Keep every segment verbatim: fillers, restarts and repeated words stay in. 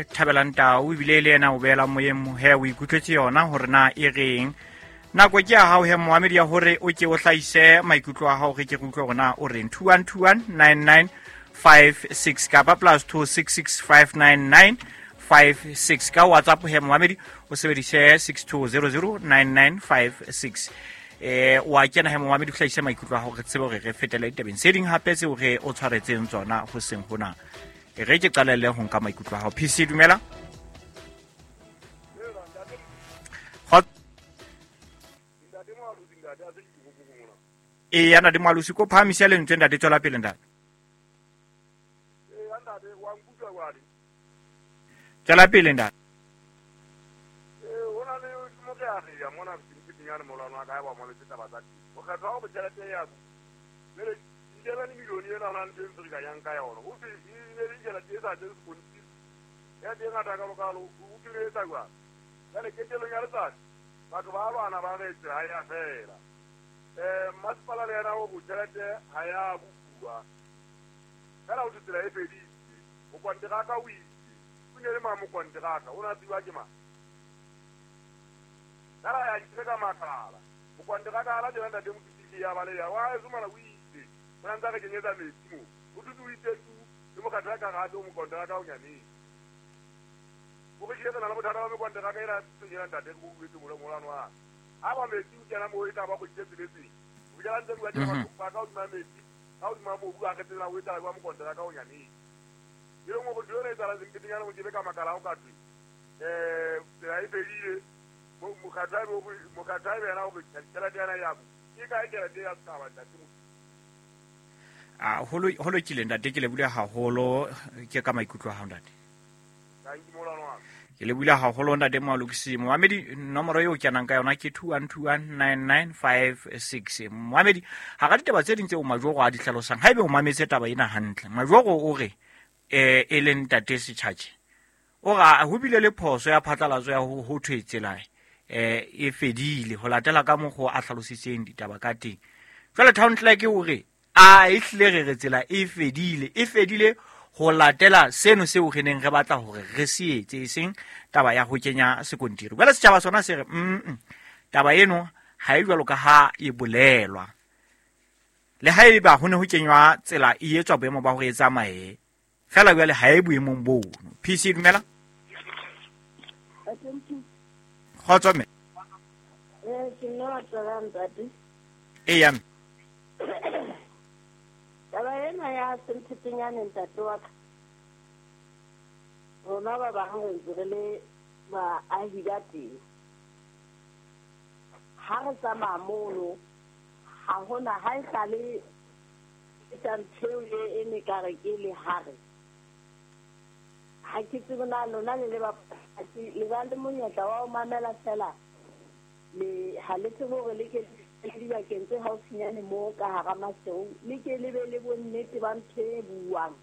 Thabelang Tau ebile le yena o beela moyeng he o ikutlwetse yona hore na e reng. Nako ke ya hao he moamedi ya hore o ke o hlahise maikutlo a hao re ke re utlwe hore na o reng. two one two one nine nine five six kapa plus two six six five nine nine five six ka WhatsApp he moamedi o sebedise six two zero zero nine nine five six. Eh wa kena he moamedi o hlahise maikutlo a hao re tsebe hore re fetele ditabeng tse ding hape tseo re o tshwaretseng tsona ho seng hona. Re ke qalelle ho nka maikutlo a hao. P C dumela. E yana di malusi ko phahamisa lentswe ntate, tswela pele ntate. Eh ntate wa nkutlwa kwale. Tswela pele ntate. Eh hona le mo ke a re ya mona ke molwana wa ka ba mo le taba tsa o kgetha go tšhelete ya go le eleven million ena na ntse re ka yang ka yona o fi ne le tšhelete e sa tse sekontiri ya teng ngata ka lokalo o kile etsa jwang jwale ketelong ya letsatsi batho ba lwana ba re tsela ya fela eh masipala le yena o go tšhelete ha ya bua fela o tsela e feditse o kontraka o itse o ne le ma mo kontraka o na tsiwa ke ma Kala ya ntseka makala o kontraka ala tsena ntate motiki ya bale ya wa e zumana o itse o ntse re kenyetsa metsi mo o tutse o itse tu le mo kontraka ga o mo kontraka o nyane o re ke tsena le bothata ba mo kontraka ira tsena ntate go buetse mo molano wa ha ba metsi o kena mo e tla ba go itse tsebetse o jala ntse bua tsena ba ka o dima metsi ha o dima mobu a re tsena o etsa ba mo kontraka o nyane e leng go dira etsa la zimpetenyana go ke ka makala o ka twe eh tsela e fedile mo mokgathabe mokgathabe yena o tšhelete yana ya ke ka e tšhelete ya setšhaba ntate. A holo holo kile ntate ke le bula haholo ke ka maikutlo a hao ntate. Ke le bula haholo ntate Moalokisi. Moamedi nomoro eo kenang ka yona ke two one two one nine nine five six. Moamedi ha ga ditaba tse ding tseo Majoro a di hlalosang haebe o mametse taba ena hantle. Majoro o re eh e leng ntate Setjhatjhe o ra ho bile le phoso ya phatlalatso ya ho ho thwe tsela eh e fedile ho latela ka mokgwa a hlalositseng ditaba ka teng. Jwale town clerk o re a e hlile re re tsela e fedile e fedile ho latela seno seo re neng re batla hore re se etse e seng taba ya ho kenya sekontiri. Jwale setjhaba sona se re mm taba eno ha e jwalo ka ha e bolelwa. Le haeba ho ne ho kenywa tsela e etswa boemo ba hore e tsamaye fela jwale ha e boemong bono. P C dumela. Kgotso mme. Eh ke nna tsala ntate. E ya mme. Taba ena ya Sempetenyane ntate wa ka. Rona ba bang re ntse re le baahi ba teng. Ha re tsamaya mono ha hona ha e sale etsa ntho e ne ka re ke le hare. Ha ke tsebe na lona le le ba le ba le monyetla wa ho mamela fela le ha le tsebe hore le ke le dibakeng tse haufinyane moo ka hara Maseru le ke le be le bonnete ba ntho e buang.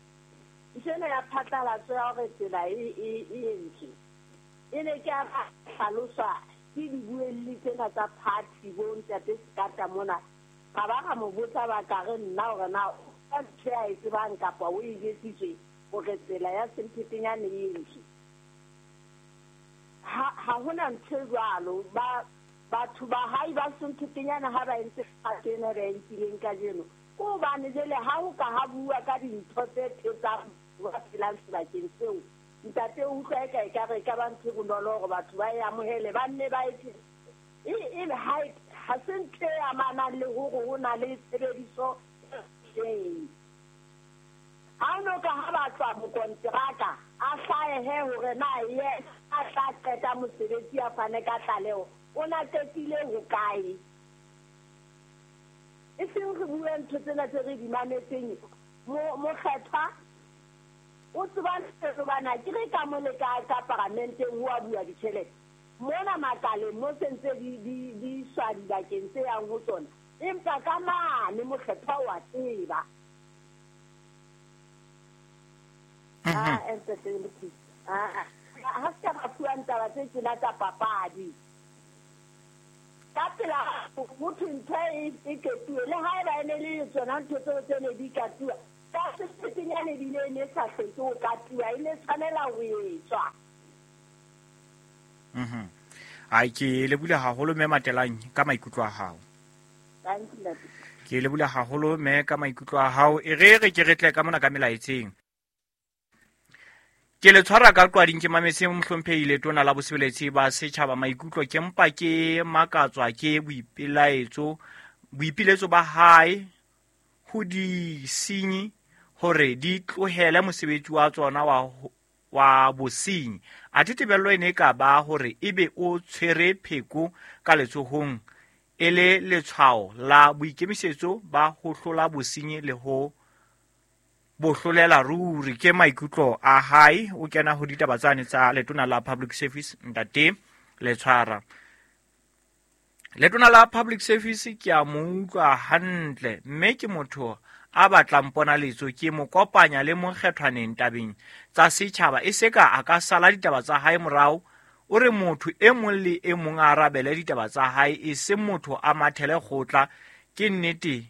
Ntho ena ya phatlalatso ya hore tsela e e e entswe e ne ke a hlaloswa ke dibuelli tsena tsa party bo ntate Sekata mona ga ba ga mo botsa ba ka re nna hore na ka ntho a e tsebang kapa o e jetsitswe hore tsela ya Sempetenyane e entswe. Ha ha hona ntho e jwalo ba batho ba hae ba Sempetenyane ha ba entse kgato ena ba e nkileng kajeno ke hobane jwale ha ho ka ha bua ka dintho tse thetsang ba phelang sebakeng seo ntate o utlwa eka ekare e ka ba ntho e bonolo hore batho ba e amohele ba nne ba e e ha ha se ntho e amanang le hore ho na le tshebediso e ha no ka ha ba tswa mokonteraka a hlaehe hore na ye a tla qeta mosebetsi a fane ka tlaleho o na qetile hokae. E seng re bue ntho tsena tse re di mametseng mokgethwa o tseba ntho bana ke re ka mo le ka ka paramenteng ho a bua ditjhelete mona makaleng mo sentse di di di iswa dibakeng tse yang ho tsona empa ka mane mokgethwa wa tseba. Ah entertainment ah ha se ka fuwa ntaba tse tjena tsa papadi ka pela motho ntho e e ketuwe le haeba e ne le tsona ntho tseo tse ne di katuwa ka ya Sempetenyane ebile e ne sa hloke ho katiwa, e ne tshwanela ho etswa. Mhm. Ai ke lebule haholo mme Matelang ka maikutlo a hao. Thank you, ntate. Ke lebule haholo mme ka maikutlo a hao. E re re ke re tle ka mona ka melaetseng. Ke le tshwara ka qwading ke mametse mohlomphehi Letona la Bosebeletsi ba Setjhaba maikutlo ke mpa ke makatswa ke boipelaetso boipiletso ba hae ho disenyi hore di tlohele mosebetsi wa tsona wa wa bosenyi. Athe tebello e ne ka ba hore ebe o tshwere pheko ka letsohong e le letshwao la boikemisetso ba ho hlola bosenyi le ho bohlolela ruri. Ke maikutlo a hae o kena ho ditaba tsane tsa Letona la Public Service ntate Letshwara. Letona la Public Service ke a mo utlwa hantle mme ke motho a batlang ponaletso, ke mo kopanya le mokgethwaneng tabeng tsa setjhaba e se ka a ka sala ditaba tsa hae morao. O re motho e mong le e mong a arabele ditaba tsa hae, e se motho a mathele kgotla. Ke nnete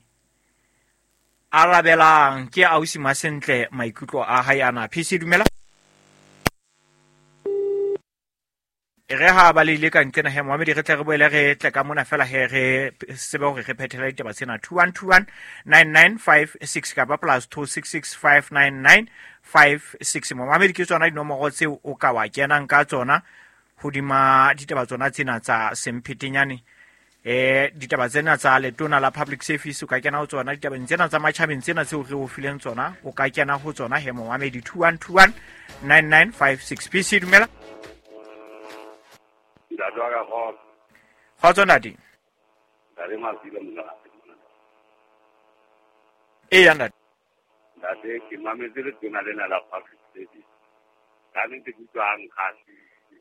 arabelang ke ausi Masentle maikutlo a hae ana. P C dumela. E re ha ba le ile ka nqena he Mohamedi re tle re boele re tle ka mona fela he re tsebe hore re phethela ditaba tsena. Two one two one nine nine five six kapa plus two six six five nine nine five six. Mohamedi ke tsona dinomoro tseo o ka wa kenang ka tsona hodima ditaba tsona tsena tsa Semphetenyane. Eh ditaba tsena tsa Letona la Public Service o ka kena ho tsona, ditabeng tsena tsa matjhabeng tsena tseo re o fileng tsona o ka kena ho tsona he Mohamedi. Two one two one nine nine five six. P C dumela. Ntate wa ka kgotso. Kgotso ntate. Ntate Masilo mona. Eya ntate. Ntate ke mametse Letona lena la Public Service. Ka nnete ke utlwa a nkgahlile.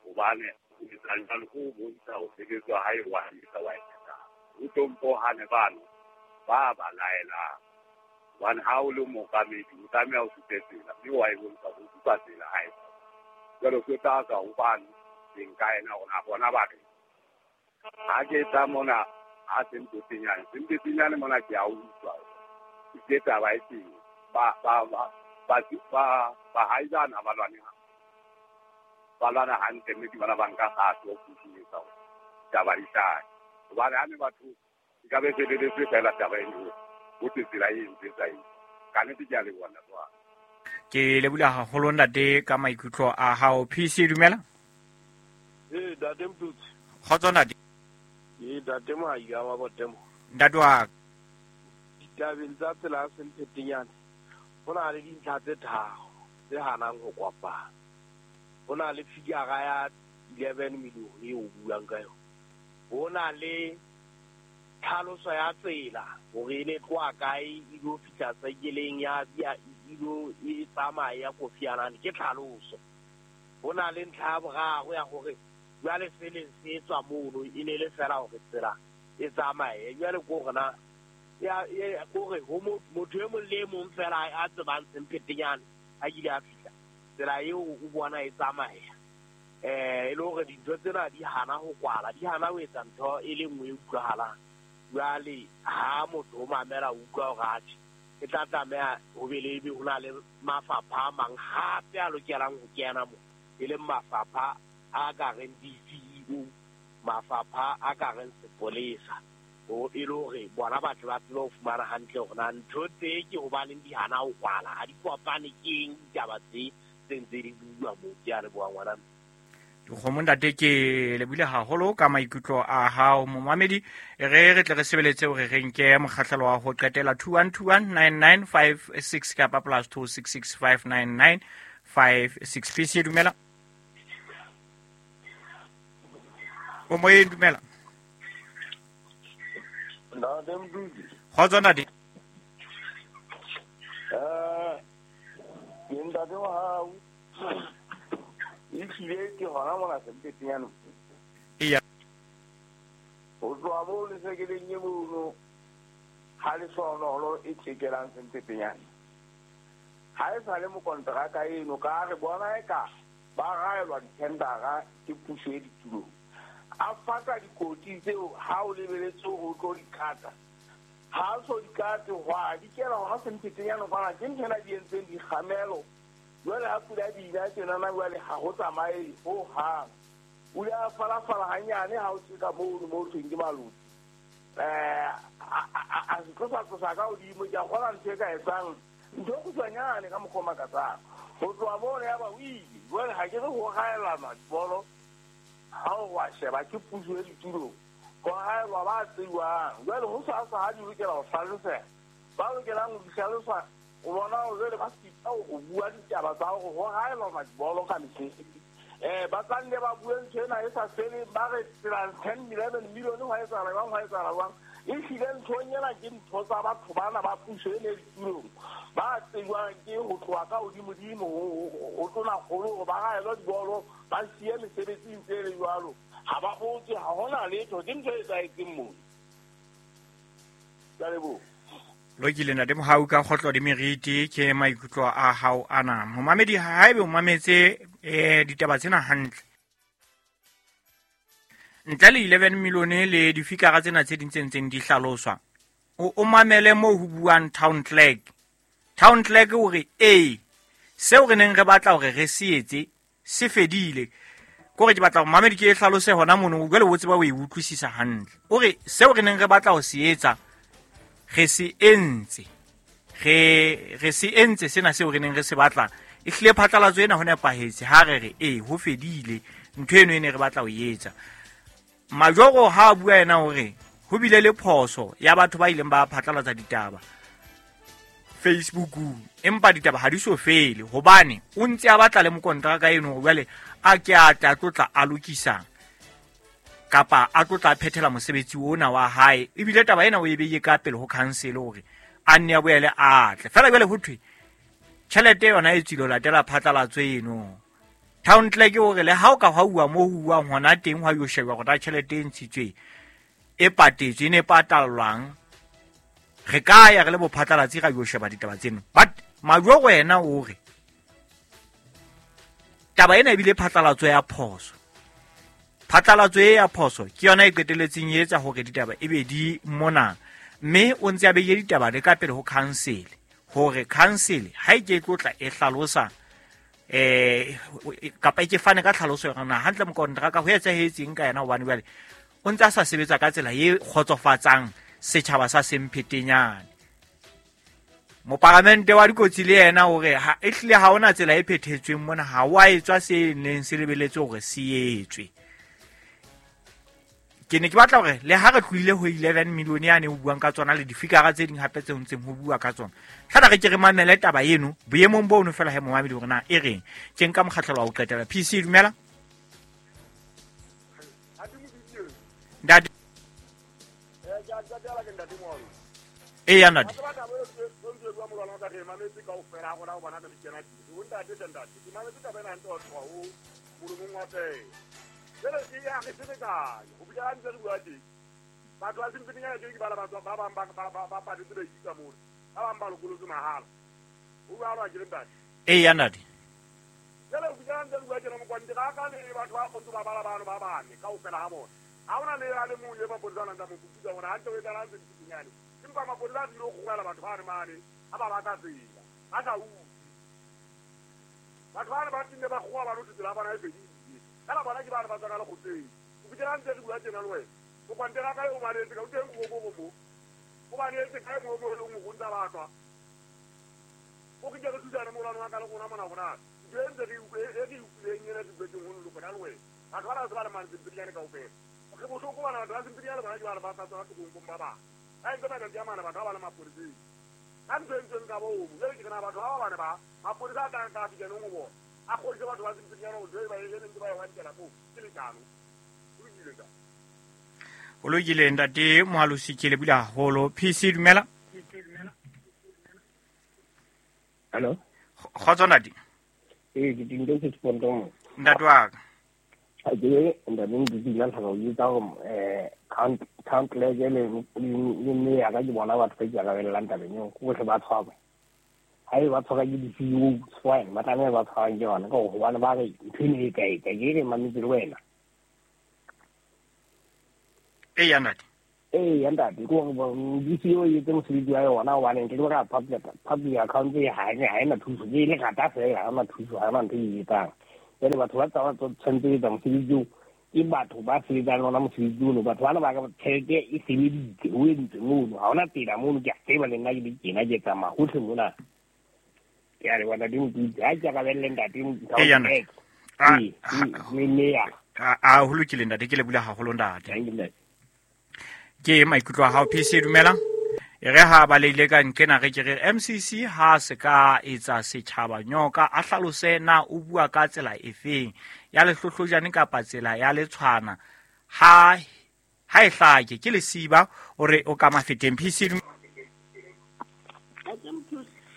Hobane o etsa jwalo ko bontsha ho sebetswa hae wa etsa wa etsa. O tlompohane bano ba ba laelang. Hobane ha o le mookamedi o tlameha o supe tsela mme wa e bontsha ho supa tsela hae. Jwale ke tla tswa hobane nka ena hore bona ba re ha ke tla mona ha Sempetenyane Sempetenyane mona ke a utlwa ke taba e teng ba ba ba ba ba bahaisana ba lwane ba lwana hantle mme ke bona ba nka kgato ho phushinyetsa hore taba di hlahe. Hobane ha ne batho e ka be feleletse fela taba eno ho tse tsela e ntse tsa eng. Ka nnete ke a leboha ntate wa ka. Ke leboha haholo ntate ka maikutlo a hao. P C dumela. Eh ntate Mtutsi. Kgotso ntate. Eh ntate Mohai wa Botemo. Ntate wa ditabeng tsa tsela ya Sempetenyane ho na le dintlha tse tharo tse hanang ho kopana. Ho na le figure ya eleven million eo o buang ka yona. Ho na le tlhaloso ya tsela hore e ne tloha kae e lo fihla saekeleng ya ya e lo e tsamaya ya Kofi Annan, ke tlhaloso. Ho na le ntlha ya boraro ya hore jwale se leng se tswa mono e ne le fela hore tsela e tsamaye. Jwale ko hore na ya kore ho motho e mong le e mong fela a tsebang Sempetenyane a ile a fihla tsela eo o bona e tsamaya. Eh e le hore dintho tsena di hana ho kwala, di hana ho etsa ntho e le nngwe e utlwahalang. Jwale ha motho o mamela o utlwa hore atjhe e tla tlameha ho be le ebe ho na le mafapha a mang hape a lokelang ho kena mo, e leng mafapha a ka reng D C E O, mafapha a ka reng sepolesa, o e le hore bona batho ba tsebe ho fumana hantle hore na ntho tse ke hobaneng di hana ho kwala, ha di kopane ke eng ditaba tse tse ntse di bua moo. Ke a leboha ngwana. Dikgomo ntate ke lebohile haholo ka maikutlo a hao momamedi. E re re tle re sebeletse hore re nke mokgahlelo wa ho qetela two one two one nine nine five six kapa plus two six six five nine nine five six. P C dumela. O moyeng dumela. Ntate Mdudu. Kgotso ntate. Eh ke ntate wa hao. Ehlile ke hona mona Sempetenyane. Eya. Ho tloha moo lesekeleng e mono ha lehlohonolo e tjekelang Sempetenyane. Ha e sa le mokonteraka eno ka re bona eka ba raelwa dithendara ke puso e ditulong. A faka dikoti tseo ha o lebeletse hore o tlo di kata. Ha so dikate hwa di kena ha Semphetenyane kwana ke ntho ena di entseng dikgamelo. Jwale ha pula di ina tjenana jwale ha ho tsamaye ho hang. O ile a falafala hanyane ha o tseka mono mo thweng ke malodi. Eh a se tlosa tlosa ka hodimo ke a kgola ntho e ka etsang ntho e kgutshwanyane ka mokgwa o makatsang. Ho tloha mono ya ba o ile. Jwale ha ke re ho haelana dibolo ha o wa sheba ke puso e ditulong. Ho haelwa ba tsejwang. Jwale ho sa sa ha di lokela ho hlaloseha. Ba lokelang ho di hlalosa o bona hore jwale ba sita ho bua ditaba tsa hore ho haelwa dibolo ka mesebetsi. Eh ba tla nne ba bue ntho ena e sa feleng ba re tsela ten eleven million ho etsahala jwang ho etsahala jwang. E hlile ntho ena ke ntho tsa batho bana ba puso e ditulong. Ba tsejwang ke ho tloha ka hodimodimo ho tona kgolo hore ba haelwa dibolo ba siye mesebetsi e ntse e le jwalo. Ha ba botse ha hona letho ke ntho e etsahetseng moo. Ke a leboha. Lokile ntate Mohau ka kgotlo di meriti ke maikutlo a hao ana. Momamedi haebe o mametse eh ditaba tsena hantle. Ntle le eleven million le difikara tsena tse ding tse ntseng di hlaloswa. O o mamele moo ho buang town clerk. Town clerk o re eh seo re neng re batla hore re se etse se fedile. Kore ke batla hore mamedi ke e hlalose hona mono jwale o tseba o e utlwisisa hantle. O re seo re neng re batla ho se etsa re se entse re re se entse sena seo re neng re se batla e hlile phatlalatso ena ho nepahetse ha re re eh ho fedile ntho eno e ne re batla ho etsa. Majoro ha a bua yena hore ho bile le phoso ya batho ba ileng ba phatlalatsa ditaba Facebookung empa ditaba ha di so fele hobane o ntse a batla le mokontraka eno jwale a ke a tla tlotla a lokisang kapa a tlotla phethela mosebetsi ona wa hae ebile taba ena o e beile ka pele ho council hore a nne a boele a tle fela jwale ho thwe tjhelete yona e tswile latela phatlalatso eno. Town clerk hore le ha o ka hauwa mo huwang hona teng hwa yo sheba hore tjhelete e ntshitswe e patetswe e ne patallwang re ka ya re le bophatlalatsi ra yo sheba ditaba tseno. But Majoro yena o re taba ena ebile phatlalatso ya phoso. Phatlalatso e ya phoso ke yona e qeteletseng e etsa hore ditaba e be di mona mme o ntse a beile ditaba le ka pele ho council hore council ha e ke tlotla e hlalosa eh kapa e ke fane ka tlhaloso yona na hantle mokontraka ho etsahetseng ka yena hobane jwale o ntse a sa sebetsa ka tsela e kgotsofatsang setjhaba sa Semphetenyane. Moparamente wa dikotsi le yena hore ha e hlile ha ona tsela e phethetsweng mona ha wa etswa se neng se lebeletse hore se etswe. Ke ne ke batla hore le ha re tlohile ho eleven million yane ho buang ka tsona le difikara tse ding hape tse ntseng ho bua ka tsona. Hlana re ke re mamele taba eno boemong bono fela he momamedi hore na e reng. Ke nka mokgahlelo wa ho qetela. P C dumela. Ntate. Eh ya ntate. Batho ba Semphetenyane ke ba ba ba bang ba ba ba patetse ba ikisa mo ba bang ba lokolotse mahala o ba ba ke ntate eh ya ntate jale o bua ntse bua tjena mokwante ka ka le batho ba kgotso ba bala bano ba bane kaofela ha bona ha ona le a le mong le mapodisa a nang tsa mo putsa hore ha ntse o etsahalang Semphetenyane empa mapodisa a tlilo kgobela batho ba re mane ha ba batla tsela ba sa utlwe batho ba ba tinde ba kgowa ba lotse tsela bona e fedile fela bona ke ba re ba tswa ka lekgotleng o bua ntse re bua tjena le wena o kwantela ka o baletse ka o teng go go go o baletse ka mo mo le mo ntsa batwa o ke re tsana mo lwana ka le gona mona gona ntse ntse re e re utlwileng ena dibetseng ho lo kana le wena batho ba ba ba le Semphetenyane kaofela re bohloko bana batho ba Semphetenyane bona ke ba ba tsa tswa tokong ba ba ba ntse ba ka mana batho ba ba le mapodisa ka ntse ntse nka bo mo le ke na batho ba ba ba mapodisa a ka ka fika nong bo a kgodise batho ba Semphetenyane o ba e ntse ba ya wa mo ke lekano o ile ka o lokile ntate Moalosi ke le bula haholo. P C dumela. Hello. Kgotso ntate. Eh ke dintho tse tspontong. Ntate wa ka. A ke ntate ndi dila tla go itsa go eh count count le le le me ya ka ke bona batho ba ikarabellang tabeng eo go tle ba tshwaba. Ha e ba tshwara ke di C E O fine ba tlameha ba tshwarang ke yona ka hobane ba re ntho eno e kae kae ke re mametse le wena. E ya ntate. Ee ntate ke hore D C O e etse mosebetsi wa yona hobane nke ke ka public public account e ha e ha ena thuso ke le rata fela ha ona thuso ha ona ntho e etsang. Jwale batho ba tsa tshwanetse ho etsa mosebetsi oo ke batho ba sebetsang le ona mosebetsi ono batho bana ba ka tjhelete e sebeditse o entse mono ha ona tsela mono ke a tseba le nna ke le tjena ke tsamaya hohle mona. Ke a leboha ntate Mokete ha ke arabelle ntate Mokete. Ee le meya. A ho lokile ntate ke lebohile haholo ntate. Ke maikutlo a hao P C dumela. E re ha ba leile ka nkena re ke re M C C ha se ka etsa setjhaba nyoka a hlalose na o bua ka tsela efeng ya lehlohlojane kapa tsela ya letshwana ha ha e hlake ke lesiba o re o ka mafeteng P C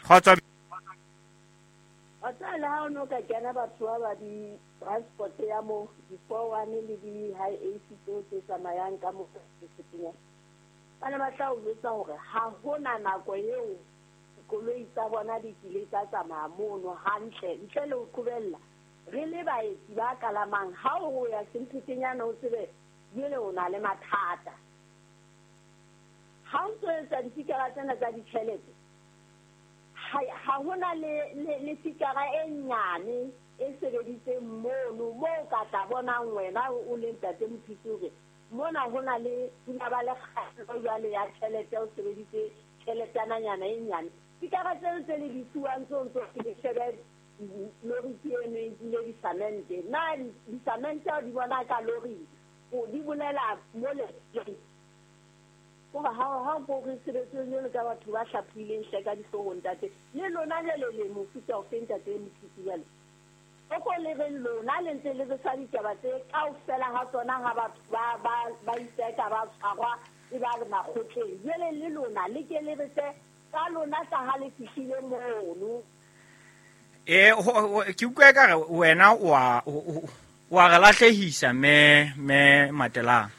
kgotsa o tsala ha o no ka kena batho ba ba di transport ya mo di four one le di high A C tseo tse tsamayang ka mo setinya ba ne ba tla o jwetsa hore ha hona nako eo dikoloi tsa bona di kile tsa tsamaya mono hantle ntle le ho qobella re le baetsi ba kalamang ha o ya Semphetenyane o tsebe jwale o na le mathata ha o ntso etsa difikara tsena tsa ditjhelete ha hona le le fikara e nyane e sebeditseng mono moo ka tla bonang wena o le ntate Mophisi hore mona hona le pula ba le kgaello jwale ya tjhelete o sebeditse tjheletananyana e nyane dikara tseo tse le di fuwang tseo ntso ke shebe lori ke eno e nkile disamente na disamente o di bona ka lori o di bolela mo le koba ha ha ko re sebetse jwalo ka batho ba hlaphileng hle ka dihloohong ntate le lona jwale le mofuta o fe ntate Mophisi jwale o ko le re lona le ntse le re sa ditaba tse kaofela ha tsona ha batho ba ba ba itseka ba tshwarwa e ba le makgotleng jwale le lona le ke le re tse ka lona tsa ha le fihlile mono e ke utlwa ka re wena o a o a re lahlehisa me me Matelang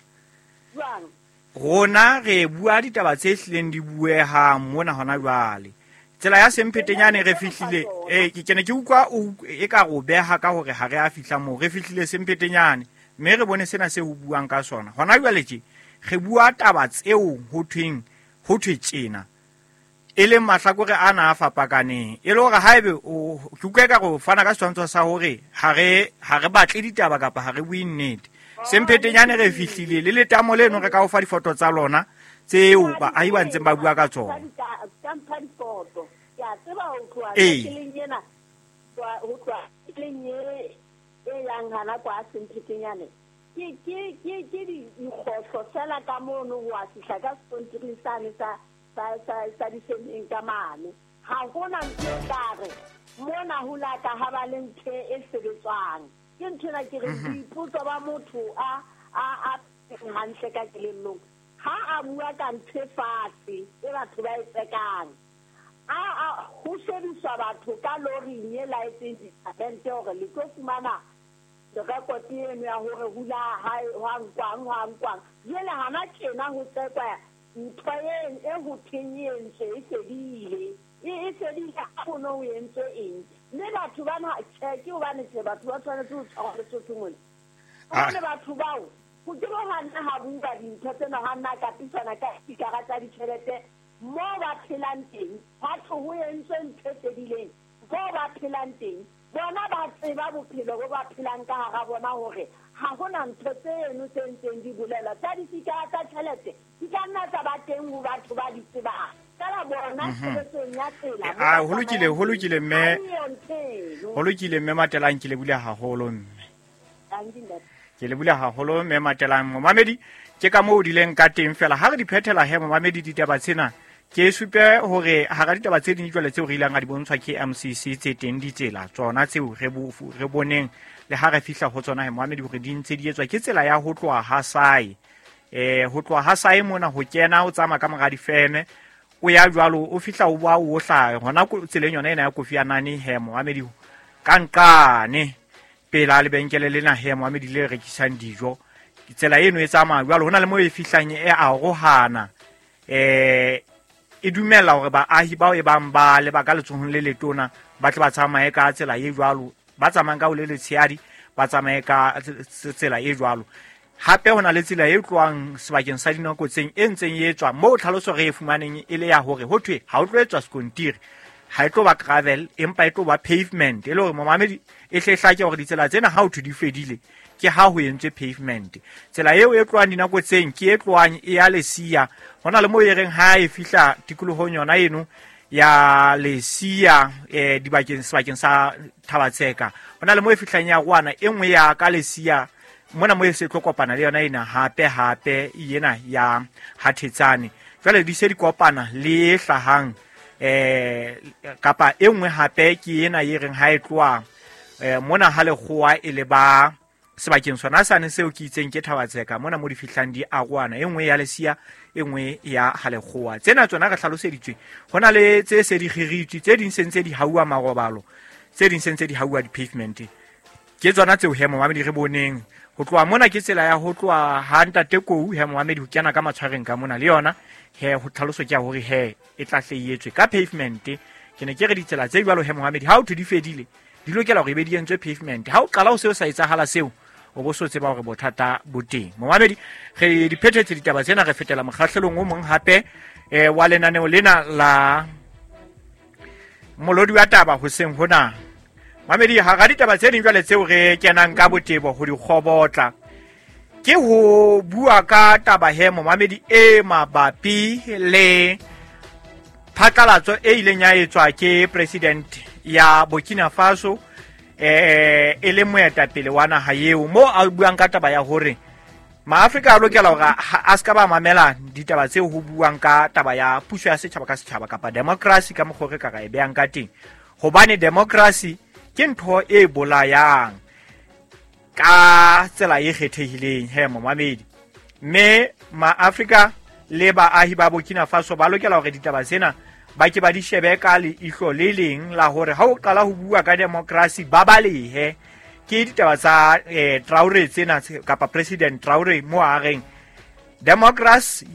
jwang rona re bua ditaba tse hlileng di buehang mona hona jwale tsela ya Semphetenyane re fihlile eh ke ne ke utlwa e ka ro beha ka hore ha re a fihla moo re fihlile Semphetenyane mme re bone sena se ho buang ka sona hona jwale tje re bua taba tseo ho thweng ho thwe tjena e leng mahlakore ana a fapakaneng e le hore haebe o ke utlwa ka go fana ka setshwantsho sa hore ha re ha re batle ditaba kapa ha re bue nnete Semphetenyane re fihlile le letamo leno re ka o fa difoto tsa lona tseo baahi ba ntseng ba bua ka tsona ka difoto ke a tseba ho tloha tseleng ena ho tloha tseleng e e yang hana kwa Semphetenyane ke ke ke ke dikgohlo fela ka mono ho a fihla ka sekontiring sane sa sa sa sa disemeng ka mane ha hona ntho e ka re mona ho la ka ha ba le ntho e sebetswang ke ntho ena ke re boipotso ba motho a a a hantle ka kelellong ha a bua ka ntho e fatshe e batho ba e tsekang a a ho shebiswa batho ka loring e laetseng disamente hore le tlo fumana record eno ya hore hula ha hwa nkwang hwa nkwang jwale hana tjena ho tsekwa ntho e e ho thweng e entswe e fedile e e fedile ha ho no entswe eng mme batho bana tjhe ke hobane tjhe batho ba tshwanetse ho tshwarwa Lesotho mona hobane batho bao ho ke bo hana ha bua dintho tsena ha nna kapisana ka dikara tsa ditjhelete moo ba phelang teng ha thwe ho entswe ntho e fedileng moo ba phelang teng bona ba tseba bophelo bo ba phelang ka hara bona hore ha hona ntho tseno tse ntseng di bolela tsa difikara tsa tjhelete di ka nna tsa ba teng ho batho ba di tsebang fela bona tshebetsong ya tsela a ho lokile ho lokile mme ho lokile mme Matelang ke lebule haholo mme ke lebule haholo mme Matelang momamedi ke ka moo dileng ka teng fela ha re di phethela he momamedi ditaba tsena ke supe hore hara ditaba tse ding jwale tseo re ilang a di bontshwa ke M C C tse teng ditsela tsona tseo re bo re boneng le ha re fihla ho tsona he momamedi hore di ntse di etswa ke tsela ya ho tloha ha sae eh ho tloha ha sae mona ho kena o tsamaya ka mora difeme o ya jwalo o fihla o ba o hlaha hona tseleng yona ena ya Kofi Annan he momamedi ka nqane pela lebenkele lena he momamedi le rekisang dijo tsela eno e tsamaya jwalo hona le mo e fihlang e arohana eh e dumela hore baahi bao e bang ba le ba ka letsohong le letona ba tle ba tsamaye ka tsela e jwalo ba tsamayang ka ho le letshehadi ba tsamaye ka tsela e jwalo Hape ho na le tsela e tlohang sebakeng sa Dinokotseng e ntseng e etswa moo tlhaloso re e fumaneng e le ya hore ho thwe ha o tlo etswa sekontiri, ha e tlo ba gravel empa e tlo ba pavement, e le hore momamedi e hle hlake hore ditsela tsena ha o thwe di fedile ke ha ho entswe pavement. Tsela eo e tlohang Dinokotseng ke e tlohang e ya Lesia, ho na le moo e reng ha e fihla tikolohong yona eno ya Lesia eh dibakeng sebakeng sa Thabatseka, ho na le moo e fihlang ya rwana e nngwe ya ka Lesia mona mo e se tlo kopana le yona ena hape hape ena ya Hathetsane. Jwale di se di kopana le e hlahang eh kapa e nngwe hape ke ena e reng ha e tloha eh mona ha lekgowa e le ba sebakeng sona sane seo ke itseng ke Thabatseka mona mo di fihlang di arwana, e nngwe ya Lesia e nngwe ya ha lekgowa. Tsena tsona re hlaloseditswe, ho na le tse se di kgiritswe, tse ding se ntse di hauwa marobalo, tse ding se ntse di hauwa di-pavement. Ke tsona tseo he momamedi re boneng ho tloha mona ke tsela ya ho tloha ha ntate Kou he momamedi ho kena ka matshwareng ka mona le yona he ho tlhaloso ke ya hore he e tla hle e etswe ka pavement. Ke ne ke re ditsela tse jwalo he momamedi ha o thwe di fedile di lokela hore e be di entswe pavement. Ha o qala ho seo sa etsahala seo o bo so tseba hore bothata bo teng. Momamedi re di phethetse ditaba tsena, re fetela mokgahlelong o mong hape eh wa lenaneo lena la molodi wa taba hoseng hona. Mamedi ha ra ditaba tse ding jwale tseo re kenang ka botebo ho di kgobotla ke ho bua ka taba he momamedi e mabapi le phatlalatso e ileng ya etswa ke president ya Burkina Faso eh e le moetapele wa naha eo, mo a buang ka taba ya hore Maafrika a lokela hore a ska ba mamela ditaba tseo ho buang ka taba ya puso ya setjhaba ka setjhaba kapa democracy ka mokgwa re ka ra e behang ka teng, hobane democracy ke ntho e bolayang ka tsela e kgethehileng he momamedi. Mme Maafrika le baahi ba Burkina Faso ba lokela hore ditaba tsena ba ke ba di shebe ka leihlo le leng la hore ha o qala ho bua ka democracy ba balehe. Ke ditaba tsa eh, Traore tsena kapa President Traore mo a reng democracy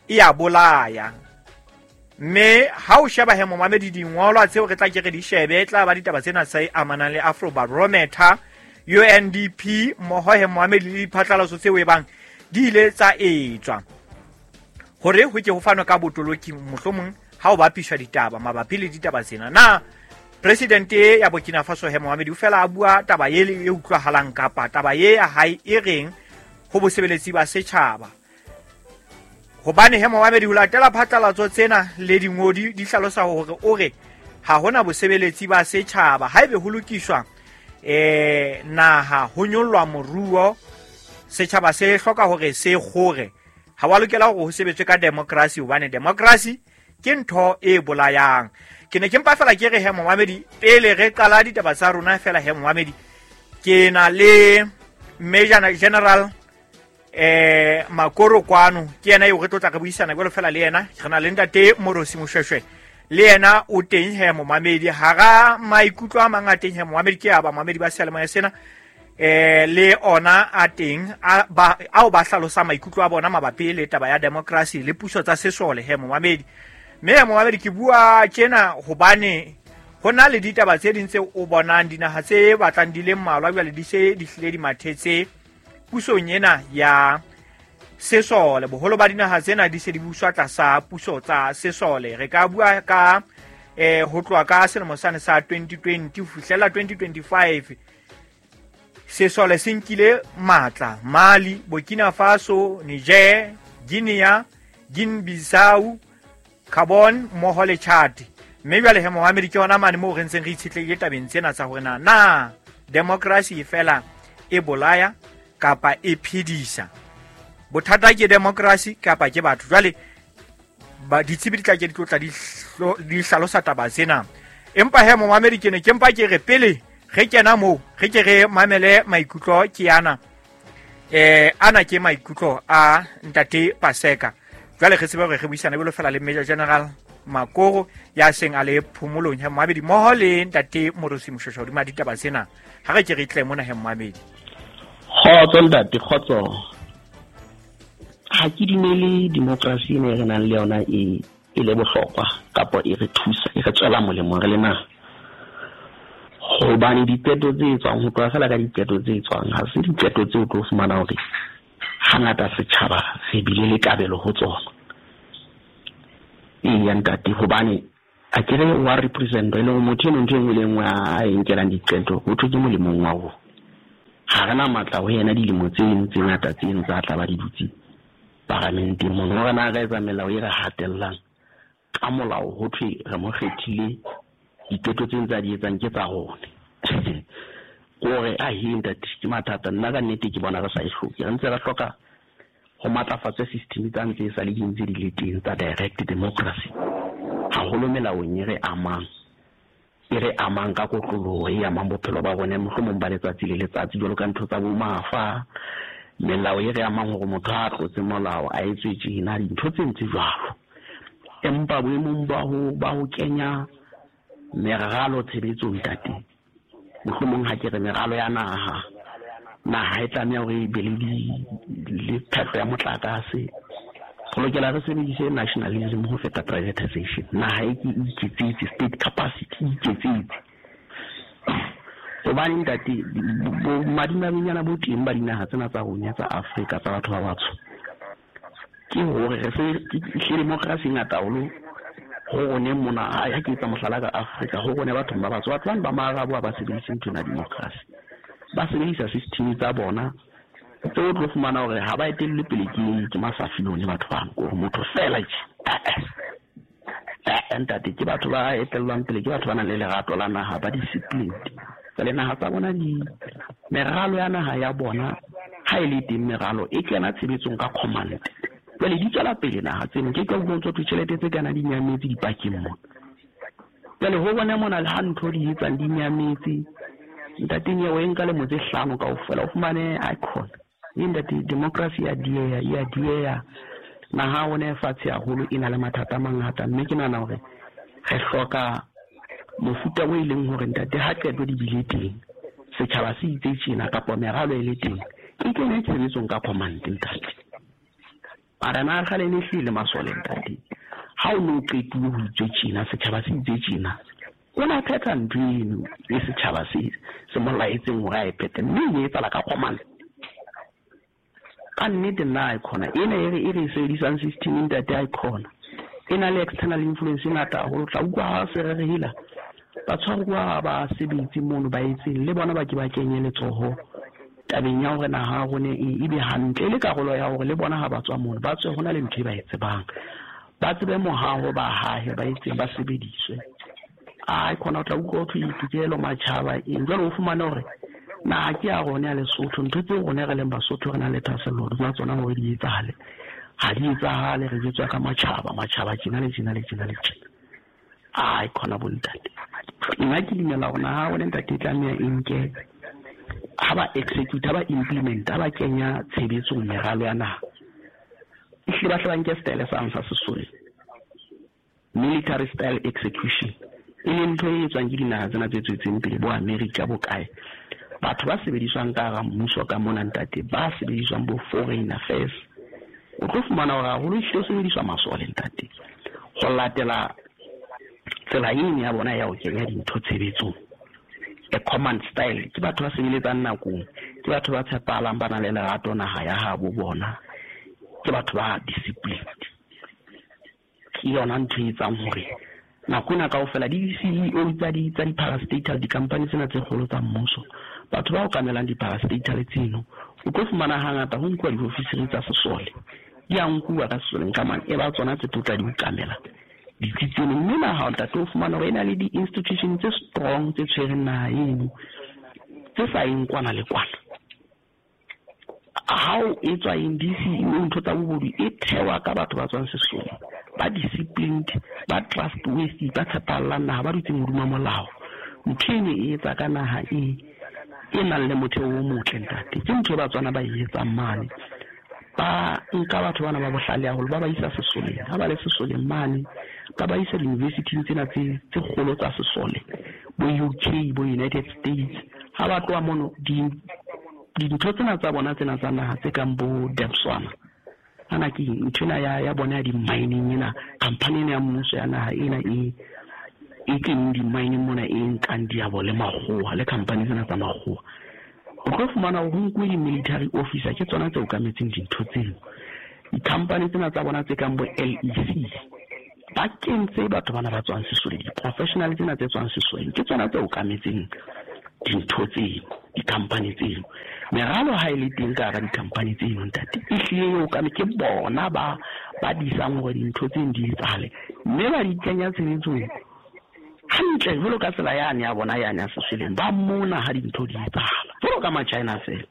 e a bolaya. Mme ha o sheba he momamedi dingolwa tseo re tla ke re di shebe e tla ba ditaba tsena tse amanang le Afrobarometer, U N D P mmoho he momamedi le diphatlalatso tseo e bang di ile tsa etswa hore ho ke ho fanwe ka botoloki mohlomong ha o bapiswa ditaba mabapi le ditaba tsena. Na president ya Burkina Faso he momamedi o fela a bua taba e e utlwahalang kapa taba e ya hae e reng ho bosebeletsi ba setjhaba? Hobane he momamedi ho latela phatlalatso tsena le dingodi di hlalosa hore o re ha hona bosebeletsi ba setjhaba haebe ho lokiswa eh naha ho nyollwa moruo, setjhaba se hloka hore se kgore, ha wa lokela hore ho sebetswe ka democracy hobane democracy ke ntho e bolayang. Ke ne ke mpa fela ke re he momamedi pele re qala ditaba tsa rona fela he momamedi ke na le Major General eh Makoro kwano, ke yena eo re tlo tla re buisana jwalo fela le yena. Re na le ntate Morosi Moshweshwe le yena o teng he momamedi. Hara maikutlo a mang a teng he momamedi ke a ba momamedi ba seyalemoya sena eh le ona a teng a ba ao ba hlalosa maikutlo a bona mabapi le taba ya democracy le puso tsa sesole he momamedi. Mme momamedi ke bua tjena hobane ho na le ditaba tse ding tseo o bonang dinaha tse batlang di le mmalwa jwale di se di hlile di mathetse pusong ena ya sesole. Boholo ba dinaha tsena di se di buswa tlasa puso tsa sesole. Re ka bua ka eh ho tloha ka selemo sane sa twenty twenty ho fihlela twenty twenty-five sesole se nkile matla Mali, Burkina Faso, Niger, Guinea, Guinea-Bissau, Gabon mmoho le Chad. Mme jwale he momamedi ke hona mane moo re ntseng re itshetlehile tabeng tsena tsa hore na na democracy fela e bolaya kapa e phedisa. Bothata ke democracy kapa ke batho. Jwale ba ditsebi di tla ke di tlo tla di di hlalosa taba tsena. Empa he momamedi ke ne ke mpa ke re pele re kena moo re ke re mamele maikutlo ke ana eh ana ke maikutlo a ntate Paseka. Jwale re tsebe hore re buisana jwalo fela le Major General Makoro ya seng a le phomolong he momamedi mmoho le ntate Morosi Moshweshwe hodima ditaba tsena. Ha re ke re tle mona he momamedi. Kgotso ntate, kgotso. Ha ke dumele democracy ena e re nang le yona e e le bohlokwa kapa e re thusa, e re tswela molemo re le naha. Hobane diqeto tse etswang, ho tloha fela ka diqeto tse etswang, ha se diqeto tseo o tlo fumana hore Hangata setjhaba re bile le kabelo ho tsona. Eya ntate, hobane a ke re wa represent e le motho eno ntho e nngwe le nngwe a e nkelang diqeto ho thwe ke molemong wa rona. Ha re na matla ho yena dilemo tseno tse ngata tseno tsa tla ba di dutse paramenteng mono. Hore na re etsa melao e re hatellang ka molao ho thwe re mo kgethile, diqeto tseno tsa di etsang ke tsa rona. Kore a he ntate ke mathata. Nna ka nnete ke bona re sa e hloke, re ntse re hloka ho matlafatsa system tsa ntse e sa le di ntse di le teng tsa direct democracy, haholo melaong e re amang e re amang ka kotloloho, e amang bophelo ba rona mohlomong ba letsatsi le letsatsi, jwalo ka ntho tsa bo mafa, melao e re amang hore motho ha a tlotse molao a etswe tjena, dintho tse ntse jwalo. Empa boemong ba ho ba ho kenya meralo tshebetsong ntate, mohlomong ha ke re meralo ya naha, naha e tlameha hore e be le le phehlo ya motlakase. Re lokela re sebedise nationalism ho feta privatization. Naha e ke iketsetse, state capacity e iketsetse. Hobane ntate, madimabenyana bo teng ba dinaha tsena tsa rona tsa Afrika tsa batho ba batsho, ke hore re se democracy e ngata haholo ho rone mona. Ha ke etsa mohlala ka Afrika, ho rone bathong ba batsho, batho bano ba Maarabo ha ba sebedise ntho ena democracy, ba sebedisa system tsa bona tse o tlo fumana hore ha ba etellwe pele ke ke masafilone batho bano, ke hore motho fela tje. Eh ntate, ke batho ba etellwang pele ke batho ba nang le lerato la naha, ba disciplined. Jwale naha tsa bona di meralo ya naha ya bona ha e le teng meralo e kena tshebetsong ka command. Jwale di tswela pele naha tseno, ke ka utlwa tswa tjhelete tse kana di nyametse dipakeng mona. Jwale ho bona mona le ha ntho di etsang di nyametse ntate, nyewe e nka lemo tse hlano kaofela o fumane icon. E ntate, democracy ya dieha, ya dieha. Naha rona e fatshe haholo, e na le mathata a mangata, mme ke nahana hore re hloka mofuta o e leng hore ntate ha qeto di bile teng, setjhaba se itse tjena kapa meralo e le teng, e kene tshebetsong ka command ntate. Mara na kgale ne hlile masole ntate, ha o no qetuwe ho itswe tjena, setjhaba se itse tjena, o na phetha ntho eno e setjhaba se se mo laetseng hore a e phethe, mme e etsahala ka command. Ka nnete nna icona ena e re e re sebedisang system ntate, icona e na le external influence e ngata haholo. Tla utlwa ha se re re hela batshwaruwa ba sebetse mono ba etseng le bona ba ke ba kenye letsoho tabeng ya hore naha ya rona e be hantle, e le karolo ya hore le bona ha ba tswa mono ba tswe hona le ntho e ba e tsebang, ba tsebe mohaho, ba hahe, ba etseng, ba sebediswe. A icona o tla utlwa ho thwe ditokelo matjhaba eng. Jwale o fumane hore naha ke ya rona ya Lesotho, ntho tseo rona re leng Basotho re na le thahasello hodima tsona hore di etsahale, ha di etsahale, re jwetswa ka matjhaba, matjhaba tjena le tjena le tjena le tjena. Ai khona bo ntate, nna ke dumela hore naha rona ntate e tlameha e nke ha ba execute, ha ba implement, ha ba kenya tshebetsong meralo ya naha, ehlile ba hle ba nke style sa sa sesole, military style execution, e leng ntho e etswang ke dinaha tsena tse tswetseng pele bo America bo kae. Batho ba sebediswang ka hara mmuso ka mona ntate, ba sebediswang bo foreign affairs, o tlo fumana hore haholo ehlile o sebediswa masole ntate, ho latela tsela eno ya bona ya ho kenya dintho tshebetsong, a command style. Ke batho ba sebeletsang nakong, ke batho ba tshepahalang, ba nang le lerato naha ya habo bona, ke batho ba disciplined. Ke yona ntho e etsang hore nako ena kaofela di-C E O tsa di tsa di-parastatal, di-company tsena tse kgolo tsa mmuso, batho ba okamelang di-parastatal tseno, o tlo fumana hangata ho nkuwa diofisiri tsa sesole, di a nkuwa ka sesoleng ka mane, e ba tsona tse tlo tla di okamela ditsi tseno. Mme naha ntate o fumana hore e na le di-institution tse strong tse tshwereng naha eno, tse sa yeng kwana le kwana. Ha o etswa eng D C E O, ntho tsa bobodu e thewa ka batho ba tswang sesoleng, ba disciplined, ba trustworthy, ba tshepahalang naha, ba dutseng hodima molao. Ntho eno e etsa ka naha e e nang le motheo o motle ntate. Ke ntho e Batswana ba e etsang mane, ba nka batho bana ba bohlale haholo, ba ba isa sesoleng. Ha ba le sesoleng mane, ba ba isa di-university tsena tse tse kgolo tsa sesole, bo U K, bo United States. Ha ba tloha mono, di dintho tsena tsa bona tsena tsa naha tse kang bo Debswana, ana ke ntho ena ya ya bona ya di-mining ena, company ena ya mmuso ya naha ena e e keneng di-mining mona, e nkang diabo le makgowa le company tsena tsa makgowa. O tlo fumana hore ho nkuwe di-military officer ke tsona tse okametseng dintho tseno. Di-company tsena tsa bona tse kang bo L E C ba kentse batho bana ba tswang sesoleng, di-professional tsena tse tswang sesoleng ke tsona tse okametseng dintho tseno, di-company tseno. Meralo ha e le teng ka hara di-company tseno ntate, e hlile e okame ke bona ba ba disang hore dintho tseno di etsahale, mme ba di kenya tshebetsong hantle jwalo ka tsela yane ya bona yane ya sesoleng. Ba mona ha dintho di etsahala jwalo ka ma-China fela.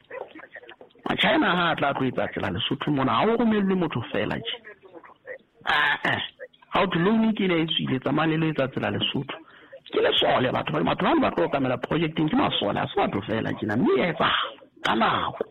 Ma-China ha a tla tlo etsa tsela Lesotho mona, ha o romellwe motho fela tje. Ah-eh, ha o thwe loan ke ena e tswile, tsamaya le lo etsa tsela Lesotho. Ke lesole batho ba, batho bano ba tlo okamela projecteng ke masole, ha se batho fela tjena, mme e etsahala ka nako.